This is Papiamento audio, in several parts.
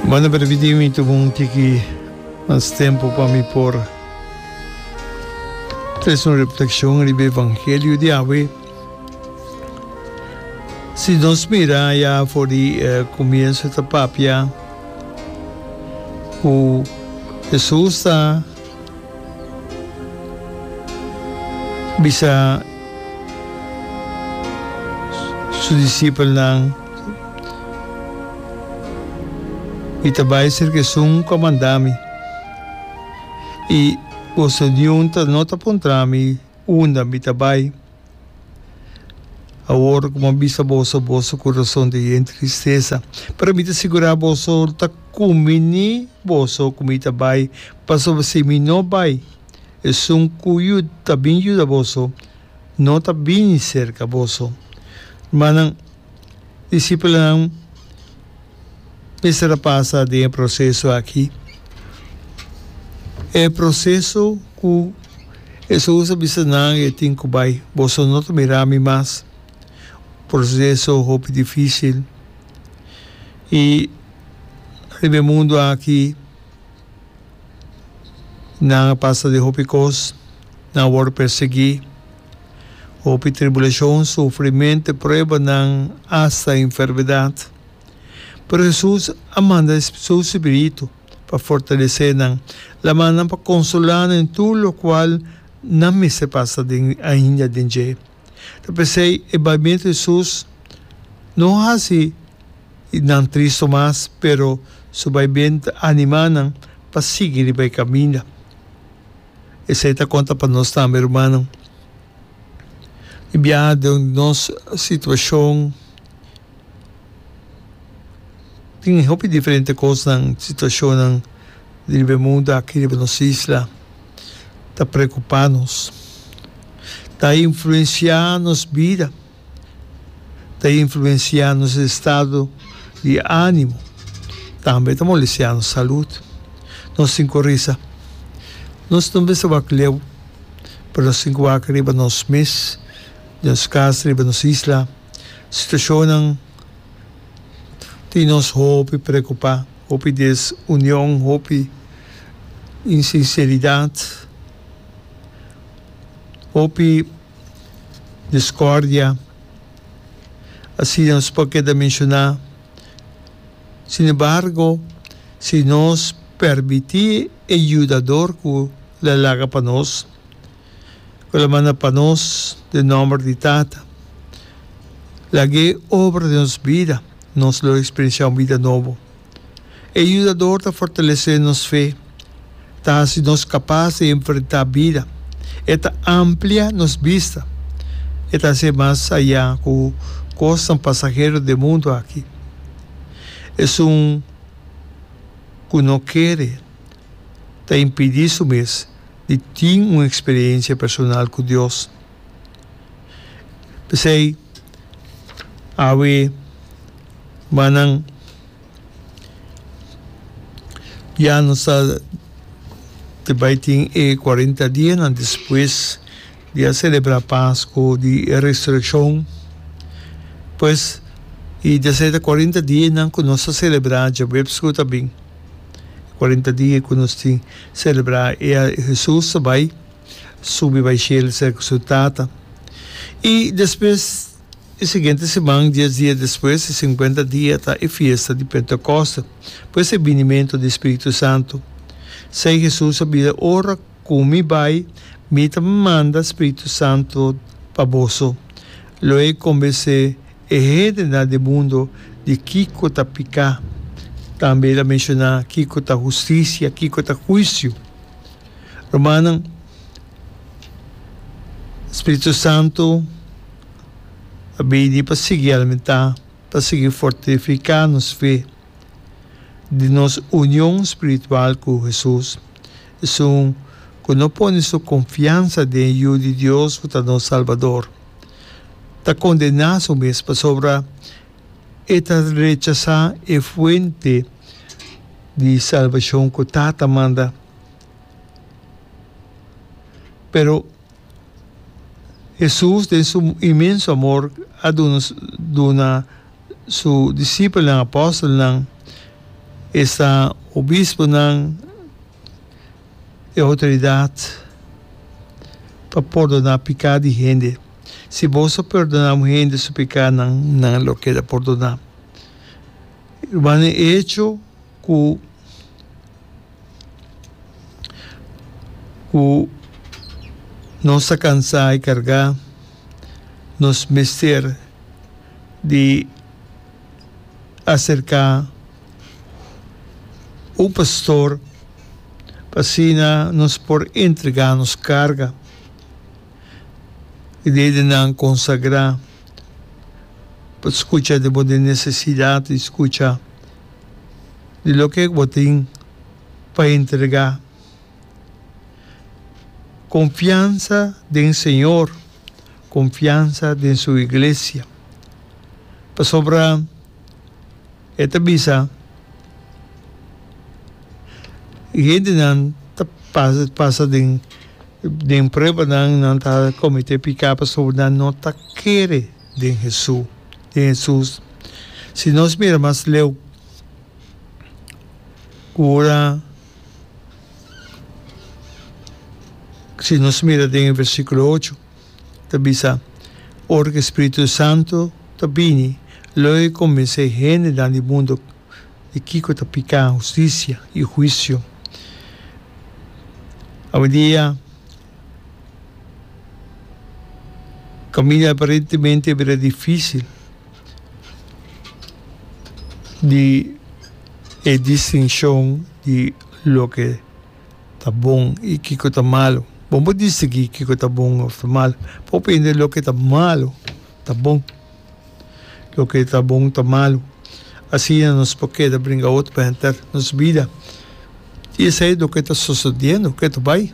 Bueno, permití mi tuma un tiki mas tempu pa mi por trese un reflexion riba evangelio di awe. Si nos mira ya for di comienzo ta papia cu Jesus ta bisa su disipelnan, Mi ta bai serka esun ku a manda mi, i boso niun ta no ta puntra mi unda mi ta bai. Awor ku mi a bisa boso, boso kurason ta yen tristesa. Pero mi ta sigurá boso, ta kumbiní boso ku mi ta bai, pasobra si mi no bai, esun ku ta bin yuda boso no ta bini serka boso. Rumannan, disipelnan mester a pasa den e proseso aki. E proseso ku Hesus a bisa nan e tin ku bai, Boso no ta mira mi mas. Proseso hopi difísil. I riba e mundu aki nan a pasa den hopi kos, nan a wòrdu persiguí, hopi tribulashon, sufrimentu, pruebanan, asta enfermedat. Pero Hesus a manda su spiritu pa fortalesé nan, el a manda nan pa konsolá nan den tur lokual nan mester pasa den ainda den dje. Ta p'esei e baimentu di Hesus no hasi nan tristu mas, pero su baimentu ta animá nan pa sigui riba e kaminda. Esei ta konta pa nos tambe, rumannan. Di biaha den nos situashon. Tin hopi diferente kosnan, situashonnan riba e mundu aki, riba nos isla, ta preokupá nos, ta influensiá nos bida, ta influensiá nos estado di ánimo, tambe ta molestiá nos salud. Nos tin ku risa. Nos no mester wak leu, pero nos tin ku wak riba nos mes, den nos kas, riba nos isla. Situashonnan tin nos hopi preokupá, hopi desunion, hopi insinseridat, hopi diskordia. Asina nos por keda menshoná. Sinembargo, si nos permití e Yudador ku lo a laga pa nos, Ku el a manda pa nos den nòmber di Tata. Lag'é obra den nos bida, nos lo eksperensiá un bida nobo. E Yudador ta fortalesé nos fe, ta hasi nos kapas di enfrentá bida, e ta amplia nos bista, e ta hasié mas ayá ku kosnan pasahero den mundu aki. Esun ku no kere ta impidí su mes di tin un experiencia personal cu Dios. P'esey, awe mannan ya nos ta ta bay tin e cuarenta dianan despues di a celebra Pasco di Resurreccion. Pues, y desey ta cuarenta dianan cu nos ta celebra djaweps cu ta bin. Cuarenta dia cu nos tin celebra e Jesus ta bay subi bay cielo cerca su Tata. Y despues e siguiente siman, dies dia despues, e cincuenta dia ta e fiesta di Pentecoste, pues e binimento di Spiritu Santo. Sey Jesus a bisa, Ora cu mi bay, mi ta manda Spiritu Santo pa boso. Lo e conbence E hendenan di mundo di kiko ta piká. Tambe el a menshoná kiko ta hustisia, kiko ta huisio. Rumannan, Spiritu Santu a bini pa sigui alimentá, pa sigui fortifiká nos fe di nos union spiritual ku Hesus, esun ku no pone su konfiansa den e Yu di Dios ku ta nos Salbador. Ta kondená su mes pasobra e ta rechasá e fuente di salbashon ku Tata manda. Pero Hesus den su inmenso amor a duna duna su disipelnan, apòstelnan. Esta obisponan e outoridat pa pordoná piká di hende. Si boso pordoná un hende su pikánan, nan lo keda pordoná. Rumannan, e echo ku ku nos ta kansá i kargá, nos mester di aserká un pastor pa asina nos por entregá nos karga i dedenan konsagrá pa skucha di bo den nesesidat i skucha di loke bo tin pa entregá. Konfiansa den Señor, konfiansa den Su Iglesia. Pasobra e ta bisa, Hendenan ta pasa den den pruebanan, nan ta komete piká pasobra nan no ta kere den Hesu, den Hesus. Si nos mira mas leu, ku ora si nos mira den e versíkulo ocho, ta bisa, Ora ku e spiritu santu ta bini, lo e kombensé hendenan di mundu di kiko ta piká, hustisia i huisio. Awendia, kaminda aparentemente a bira difísil di e distinshon di loke ta bon i kiko ta malu. Bo por distinguí kiko ta bon òf ta malu. Bo por hende loke ta malu ta bon, loke ta bon ta malu. Asina nos por keda bringa otro pa henter nos bida. I esei loke ta sosodiendo, ke ta bai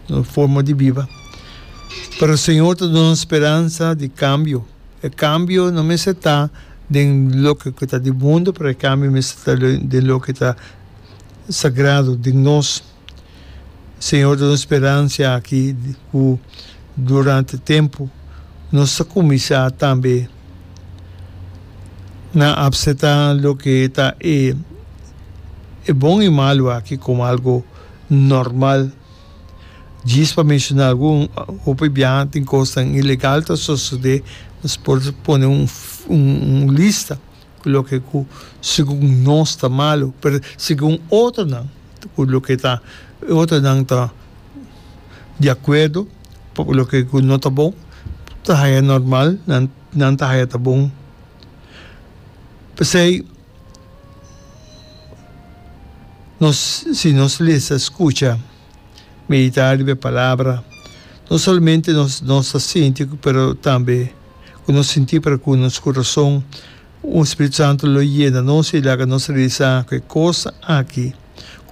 nos forma di biba. Pero Señor ta duna nos speransa di kambio. E kambio no mester ta den loke ku ta di mundu, pero e kambio mester ta den loke ta sagrado den nos. Señor ta duna speransia aki ku durante tempu nos ta kuminsá tambe na apseptá loke ta e e bon i malu aki komo algu normal. Djis pa menshoná algun, hopi biaha tin kosnan ilegal ta sosodé, nos por pone un un lista. Ku loke ku segun nos ta malu, pero segun otronan ku loke ta otronan ta di akuerdo pa loke ku no ta bon, ta haya normal, nan nan ta haya ta bon. P'esei nos si nos lesa, skucha, meditá riba e palabra, no solamente nos nos ta sinti pero tambe ku nos sinti pero ku nos kurason Un Spiritu Santu lo yena nos i laga nos realisá ku e kos aki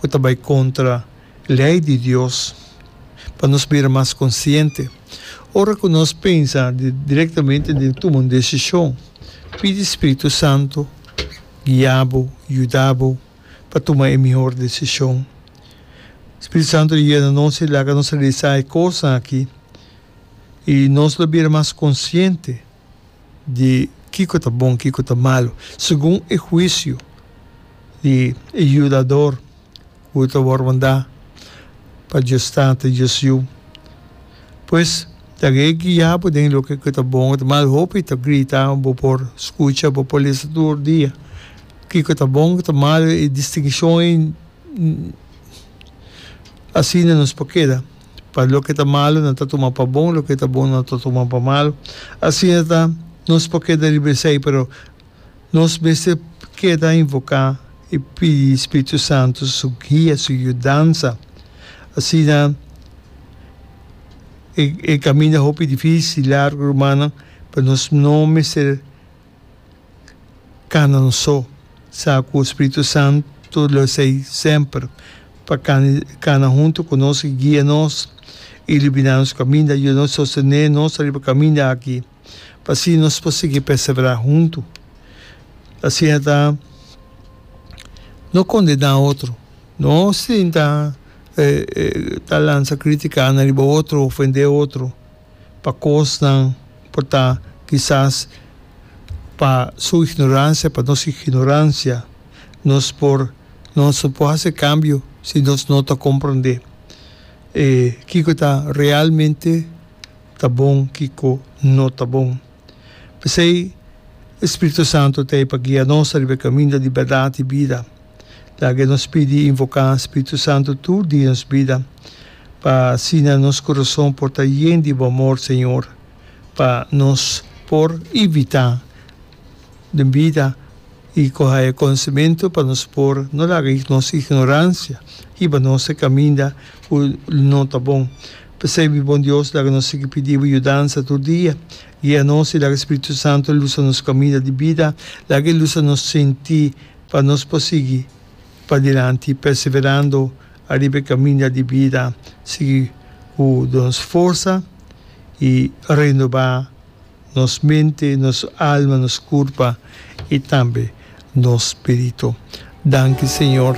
ku ta bai kontra lei di Dios, pa nos bira mas konsiente. Ora ku nos pensa direktamente den tuma un desishon, pidi Spiritu Santu guia bo, yuda bo pa tuma e mihor desishon. Spiritu Santu lo yena nos i laga nos realisá e kosnan aki i nos lo bira mas konsiente. di kiko ta bon, kiko ta malu, segun e huisio di e Yudador ku ta wòrdu mandá pa Dios Tata i Dios Yu. Pues, laga e guia bo den loke ku ta bon ku ta malu. Hopi ta grita, bo por skucha, bo por lesa tur dia kiko ta bon, kiko ta malu, e distinshon ei asina nos por keda. Pa loke ta malu nan ta tuma pa bon, loke ta bon nan ta tuma pa malu. Asina ta, nos por keda riba esei, pero nos mester keda invoká i pidi Spiritu Santu su guia, su yudansa. Asina e e kaminda hopi difísil, largu, rumannan, pero nos no mester. Kana nos so sa ku Spiritu Santu lo esei semper pa kana huntu ku nos i guia nos i iluminá nos kaminda, yuda nos sostené nos riba kaminda aki pa asina nos por sigui perseverá huntu. Asina ta no kondená otro, no sinta ta lansa kritikanan riba otro, ofendé otro. pa kosnan por ta kisas pa su ignoransia, pa nos ignoransia nos por Nos no por hasi kambio si nos no ta komprondé e kiko ta realmente ta bon, kiko no ta bon. P'esei e Spiritu Santu ta ei pa guia nos riba e kaminda di bèrdat i bida. Laga nos pidi i invoká Spiritu Santu tur dia nos bida, pa asina nos kurason por ta yen di bo amor, Señor, pa nos por evitá den bida i ku haya konosementu pa nos por no laga nos ignoransia hiba nos e kaminda ku no ta bon. P'esei, mi bon Dios, laga nos sigui pidi bo yudansa tur dia. Guia nos i laga Spiritu Santu lusa nos kaminda di bida, laga e lusa nos sinti pa nos por sigui padilanti perseverando ariba e kaminda di bida, sigui ku nos forsa i renobá nos mente, nos alma, nos kurpa i tambe nos spiritu. Danki Señor,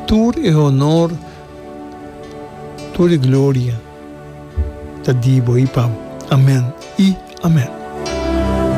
tur e honor, tur e gloria ta di bo i pa bo. Amen i amen.